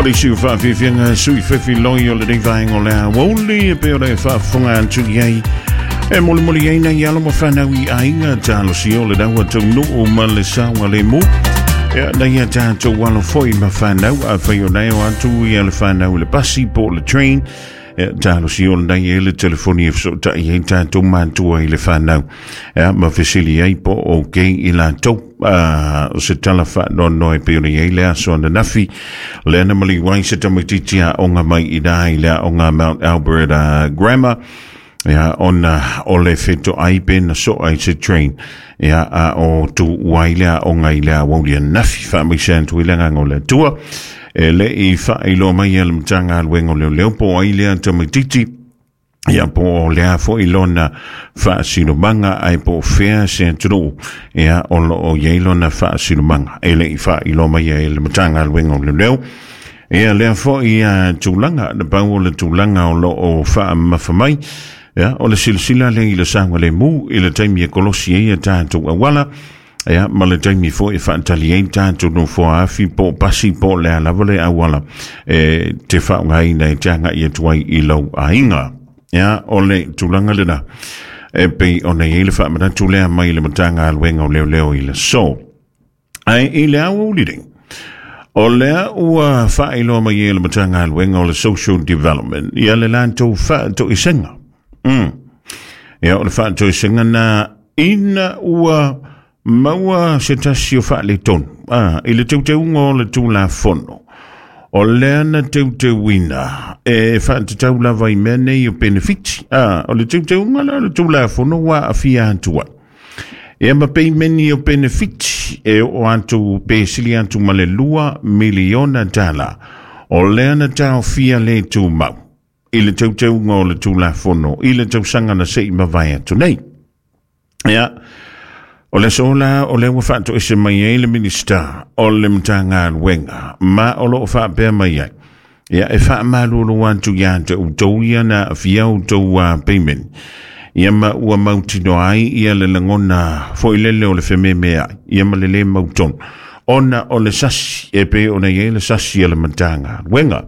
le isi o faafiafiaga sui fefiloi o lenei vaega o le aoauli e pei ona e faafofoga atu i ai e molimoli ai nai alo ma fanau i aiga talosia o le ua taunuu ma le saogalemu. Ia, nai a tatou alo foi ma fanau, afai o nai o atu ia le fanau i le pasi po o le train, ia, talosia o lenei e le telefoni e fesootai ai tatou matua i le fanau, ia, ma fesili ai po o okay i latou. O se tala faanoanoa e pei ona i ai le aso ananafi lea na maliu ai se tamaitiiti aoga mai i ina i le aoga Mount Albert Grammar, ia, ona o le fetoai pe na soa i se train, ia, a o tuua ai le aoga i le aoauli ananafi. Faamaise atu i le agaga o le Atua. E le i faailoa mai e le Matagaluega o Leoleo po o ai lea tamaitiiti, ia, po o lea foi lona faasinomaga, ae po o fea se atunuu, ia, o lo o i ai lona faasinomaga. E le i faailoa mai e le Matagaluega o Leoleo ia lea foi tulaga. Na pau o le tulaga o lo o faamamafa mai, ia, o le silasila lea i le saogalemu i le taimi e kolosi ai a tatou auala, ia, ma le taimi foi e faatali ai tatou nofoa afi po o pasi po o le a lava le auala e te faaaogaina e te agai atu ai i lou aiga. Ia, o le tulaga lena e pei ona i ai le faamanatu lea mai le Matagaluega o Leoleo i le aso. Ae i le aoauli nei, o lea ua faailoa mai e le Matagaluega o le Social Development ia le latou faatoesega. Ia, o le faatoesega na ina ua maua se tasi o faaletonu i le teuteuga o le Tulafono o lea na teuteuina e faatatau lava i mea nei o penefiti. O le teuteuga la o le Tulafono ua aafia atu ai ia ma peimeni o penefiti e oo atu pe sili atu ma le $2 miliona o lea na taofia le tumau i le teuteuga o le Tulafono i le tausaga na se i mavae atu nei. Ia, o le aso la o lea ua faatoese mai ai le Minisita o le Matagaluega ma o lo o faapea mai ai, ia, e faamalulu atu ia te outou ia na aafia outou payment, ia, ma ua mautinoa ai ia le lagona foi lele o le fememeai, ia, ma le lē mautonu ona o le sasi e pei ona i ai le sasi a le Matagaluega.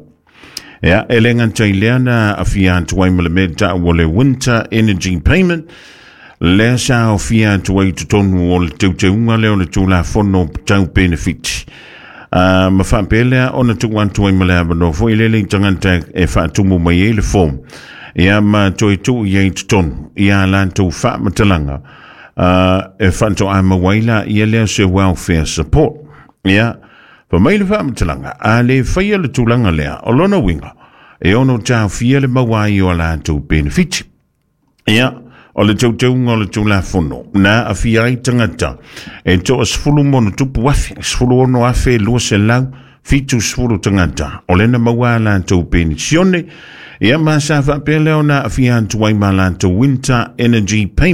Ia, e le gata i lea na aafia atu ai ma le mea tau o le Winter Energy Payment, lea sa aofia atu ai i totonu o le teuteuga lea o le Tulafono tau penefiti. Ma faapea lea ona tuu atu ai ma le avanoa foi lele i tagata e faatumu mai ai le form, ia, ma toe tuu i ai i totonu ia latou faamatalaga e faatoa maua ai la ia lea se welfare support. Ia, fa mai le faamatalaga, a le faia le tulaga lea, o lona uiga, e ono taofia le maua ai o a latou penefiti. Ia, o le teuteuga o le Tulafono na aafia ai tagata e 60+ afe, 16,270 tagata o lea na maua a latou penisione, ia, ma sa faapea lea ona aafia atu ai ma latou Winter Energy Payment.